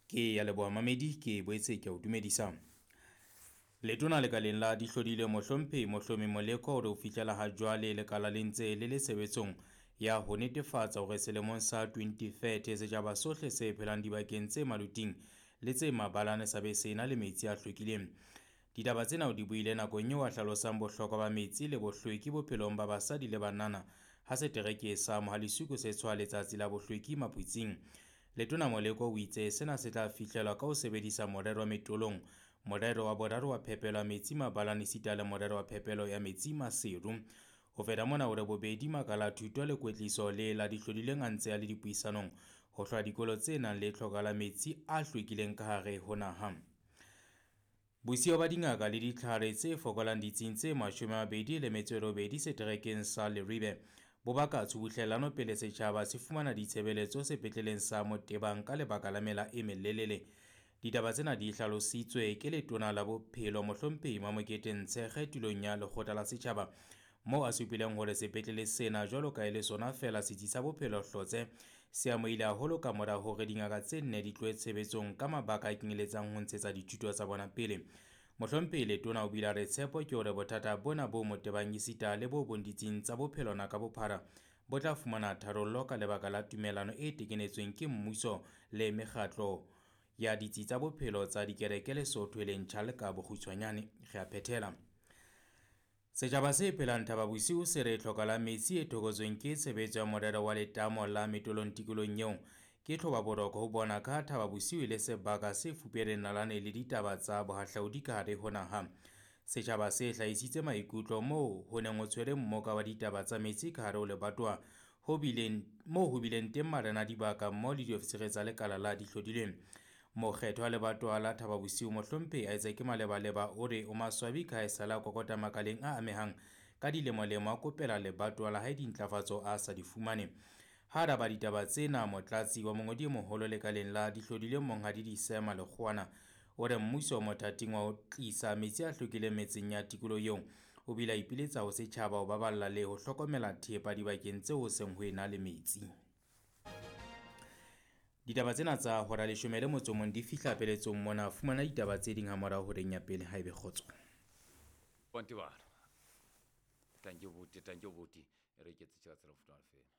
Ke ya leboha mamedi, ke boetse ke o dumedisa. Letona lekaleng la dihlodile Mohlomphehi Mohlomi Moleko o re ho fihlela ha jwale lekala le ntse le le tshebetsong ya ho netefatsa hore selemong sa 2030 setjhaba sohle se phelang dibakeng tse maluting le tse mabalane sa be se na le metsi a hlwekileng. Ditaba tsena o di buile nakong eo a hlalosang bohlokwa ba metsi le bohlweki bophelong ba basadi le banana ha setereke sa Mohale'Shoek se tshwaya letsatsi la bohlweki Maphutsing. Letona Moleko o itse sena se tla fihlelwa ka ho sebedisa morero wa Metolong, morero wa boraro wa phepelo ya metsi mabalane esita le morero wa phepelo ya metsi Maseru. Ho feta mona o re bobedi makala a thuto le kwetliso le la dihlodileng a ntse a le dipuisanong ho hlwa dikolo tse nang le tlhoka la metsi a hlwekileng ka hare ho naha. Bosiyo ba dingaka le ditlhare tse fokolang ditsing tse 28 seterekeng sa Leribe bo baka tshubuhlellano pele setjhaba se fumana ditshebeletso sepetleleng sa Motebang ka lebaka la mela e melelele. Ditaba tsena di hlalositswe ke letona la bophelo Mohlomphehi Mamokete Ntshekge tulong ya lekgotla la setjhaba moo a supileng hore sepetlele sena jwalo ka e le sona feela setsi sa bophelo Hlotse se amohile haholo ka mora hore dingaka tse nne di tlohe tshebetsong ka mabaka a kenyeletsang ho ntshetsa dithuto tsa bona pele. Mohlomphehi Letona o bile a re tshepo ke hore bothata bona bo Motebang esita le bo bong ditsing tsa bophelo na ka bophara bo tla fumana tharollo ka lebaka la tumellano e tekenetsweng ke mmuso le mekgatlo ya ditsi tsa bophelo tsa dikereke Lesotho e leng CHAL ka bokgutshwanyane. Re a phethela. Setjhaba se phelang Thaba Bosiu se re tlhoka la metsi e thokotsweng ke tshebetso ya morero wa letamo la Metolong tikolong eo ke tlhoba boroko ho bona ka Thaba Bosiu e le sebaka se fupereng nalane le ditaba tsa bohahlaudi ka hare ho naha. Setjhaba se hlahisitse maikutlo moo ho neng ho tshwere mmoka wa ditaba tsa metsi ka hare ho lebatowa ho bileng moo ho bileng teng marena a dibaka mmoho le diofisiri tsa lekala la dihlodilweng. Mokgetho wa lebatowa la Thaba Bosiu Mohlomphehi Isaac Malebaleba o re o maswabi ka ha esale a kokota makaleng a amehang ka dilemolemo a kopela lebatowa la hae dintlafatso a sa di fumane. Ha araba ditaba tsena motlatsi wa mongodi e moholo lekaleng la dihlodilweng Monghadi Disema Lekgowana o re mmuso o mothating wa ho tlisa metsi a hlwekileng metseng ya tikoloho eo. O bile a ipiletsa ho setjhaba ho baballa le ho hlokomela thepa dibakeng tseo ho seng ho ena le metsi. Ditaba tsena tsa hora 11 di fihla peletsong mona. Fumana ditaba tse ding hamorao horeng ya pele haebe kgotso. Bonti bana. Thank you buti, thank you buti. Re ke tse tshela futa fela.